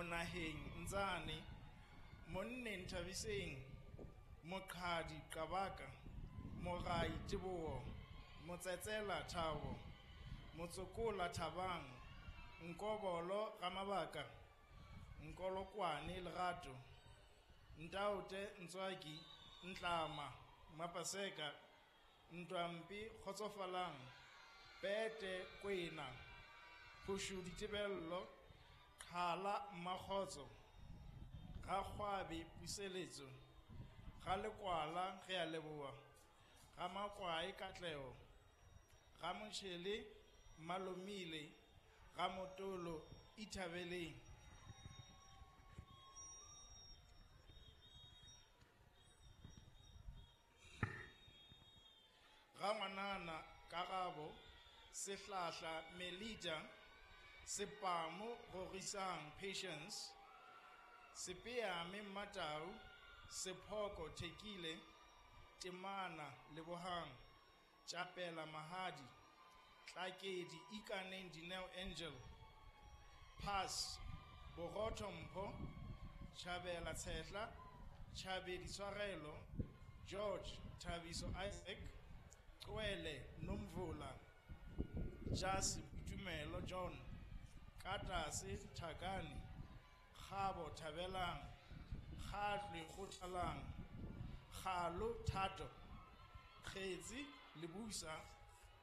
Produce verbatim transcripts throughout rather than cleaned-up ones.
Monaheng Ntsane, Monneng Thabiseng, Moqhadi Qabaka, Morai Teboho, Motsetsela Thabo, Motsokola Thabang, Nkobolo Ramabaka, Nkolokwane Lerato, Ntaote Ntswaki, Ntlama Mapaseka, Ntwampe Kgotsofalang, Pete Kwena, Phushudi Tebello, Qhala Mmakgotso, Rakgwabe Puseletso, Ralekwala re a leboha, Ramakwae Katleho, Ramotjhele Malomile, Ramotolo Ithabeleng. Rangwanana Karabo, Sehlahla Melita, Sepamo Rorisang Patience, Sepeame Mmatau, Sephoko Thekile, Temana Lebohang, Tjapela Mahadi, Tlakedi Ikaneng Dineo Angel, Pass Borotho Mpho, Tjhabela Tshehla, Tjhabedi Tshwarelo, George Thabiso Isaac, Qwele Nomvula, Jasi Boitumelo John, Katase Thakane, Kgabo Thabelang, Kgatlwe Kgothalang, Kgalo Thato, Kgetsi Lebusa,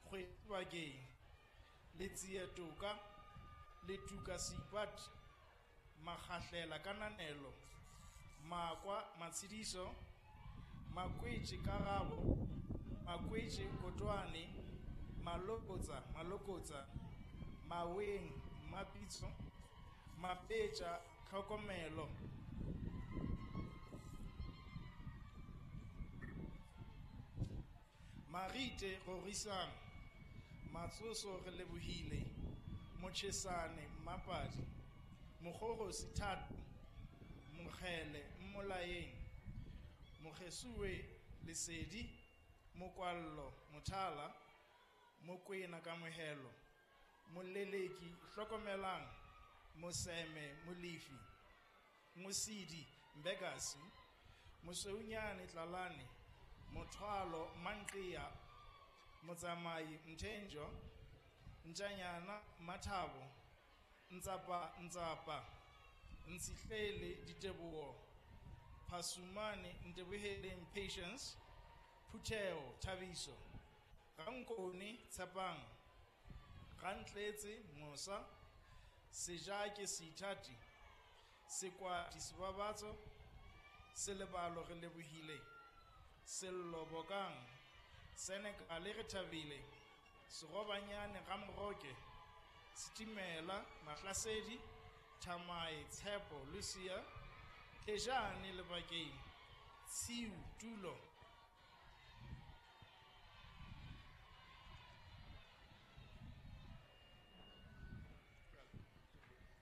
Kgwedi Bakeng, Letsie Toka, Letuka Seipati, Makgahlela Kananelo, Makwa Matshidiso, Makwetše Karabo, Makwetše Kotwane, Malokotsa Malokotsa, Maweng Mapitso, Mapetja Tlhokomelo. Marite Rorisang, Matsoso re lebohile, Motjhesane Mmapadi, Mokgorosi Thato, Mokgele Mmolaeng, Mokgesuwe Lesedi, Mokwallo Mothala, Mokwena Kamohelo, Moleleki Hlokomelang, Moseme Molefi, Mosidi Mbekasi, Mosweunyane Tlalane, Mothwalo Manqiya, Motsamai Mthenjo, Ntjanyana Mathabo, Ntsapa Ntsapa, Ntshihlele Diteboho, Phasumane Nteboheleng Patience, Phutheo Thabiso, Rankone Tshepang, Rantletse Mosa, Sejake Seithati, Sekwati Sebabatso, Selebalo re lebohile, Sello Bokang, Senekale re thabile, Serobanyane Ramoroke, Setimela Mahlasedi, Thamae Tshepo Lucia, Tejane Lebakeng, Tshiu Tulo,